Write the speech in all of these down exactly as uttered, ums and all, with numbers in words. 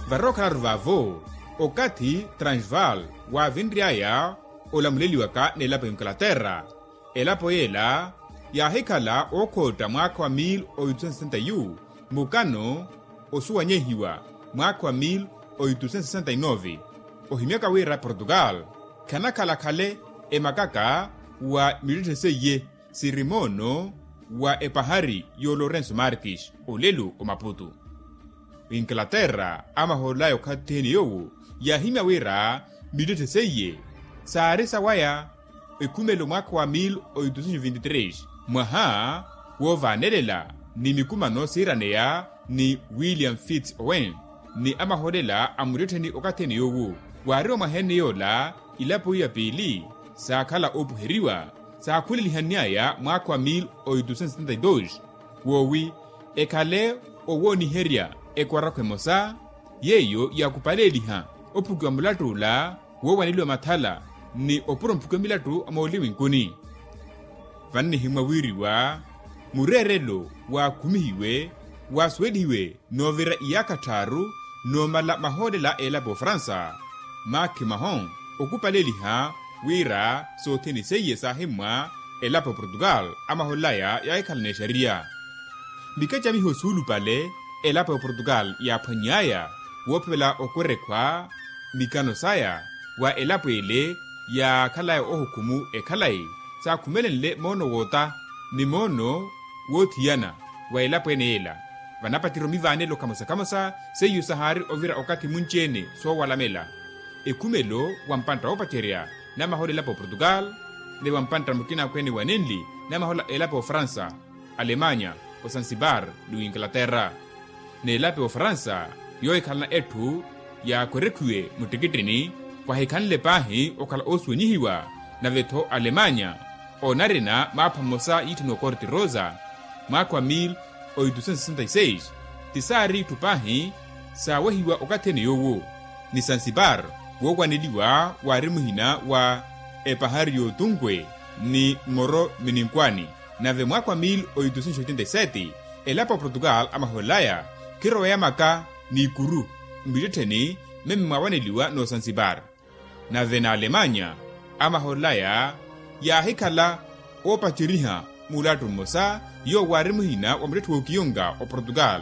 Varookhalaru vaavo okathi transvaal waavinry'aya olamuleliwaka n'elapo ya inglaterra. Elapo yeela yaahikhala ookhootta mwaakha wa mil oitusen sesenta yu mukano osuwanyehiwa mwaakha wa mil oitusen sesenta inove. Ohimyaka wira portugal khanakhala khale emakaka wa mittetthe seiye siri moono wa epahari y'olorenso markis olelo omaputu. Inglaterra amahool'aya okhathi-ene yoowo yaahimya wira mittetthe seiye saari sawaya ekhumelo mwaakha wa mil oitusen vinti tres mwaha woovaanelela ni mikumano siiraneya ni william fitz owen ni amahoolela a muttettheni okathi-ene yoowo. Waari omwaha-ene yoola ilapo iya piili saakhala oopuheriwa saakhulelihanny'aya mwaakha wa mil oitusen sesenta y dos woowi ekhale owooniherya ekwarakho emosa yeiyo yaakupaleeliha ophukiwa mulattu ola woowaneliwa mathala ni opuro mphukiwa milattu a mooliwinkuni. Vannihimwa wiiriwa mureerelo waakhumihiwe waasuwelihiwe noovira iyaakha tthaaru noomala mahoolela a elapo ya ofransa maakhi mahon okupaleeliha wira sothene seiye saahimmwa elapo ya oportugal. Amahool'aya yaahikhala n'exariya mikacamiho suulupale elapo ya oportugal yaaphwanny'aya woophevela okwerekhwa mikano saya wa elapo ele yaakhalaya ohukhumu ekhalayi saakhumelenle moono woota ni moono woothiyana wa elapo ene yeela. Vanapacerya omivaanelo khamosa khamosa seiyo sahaari ovira okathi munci-ene soowalamela ekhumelo wa mpantta woopacerya namahoola elapo ya oportugal ni wa mpantta mukina akhweene wa nenli namahoola elapo ya ofransa alemanya osansibar ni winglaterra. N'elapo ya ofransa yoohikhalana etthu yaakwerekhiwe muttikittini kwahikhanle paahi okhala oosuwenyihiwa nave-tho alemanya oonarina maapha mmosa yiitthaniwa corte rosa mwaakha wa mil oitusen sesenta y seis ti saari itthu paahi saawehiwa okathi-ene yoowo ni sansipar woowaneliwa waari muhina wa epahari y'otunkwe ni mmoro mininkwaani. Nave mwaakha wa mil oitusen oitenta y sete elapo ya oportugal amahool'aya khiroweya maka n'ikuru mmittettheni meme mwaawaneliwa n'osansipar. Nave n'alemanya amahool'aya yaahikhala oopaceriha mulattu mmosa yoowo waari muhina wa muttetthe wookiyonka oportugal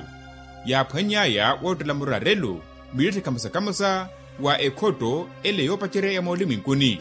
yaaphwanny'aya woottela muraarelo mittetthe khamosa khamosa wa ekhotto ele yoopacerya ya moolimu inkuni.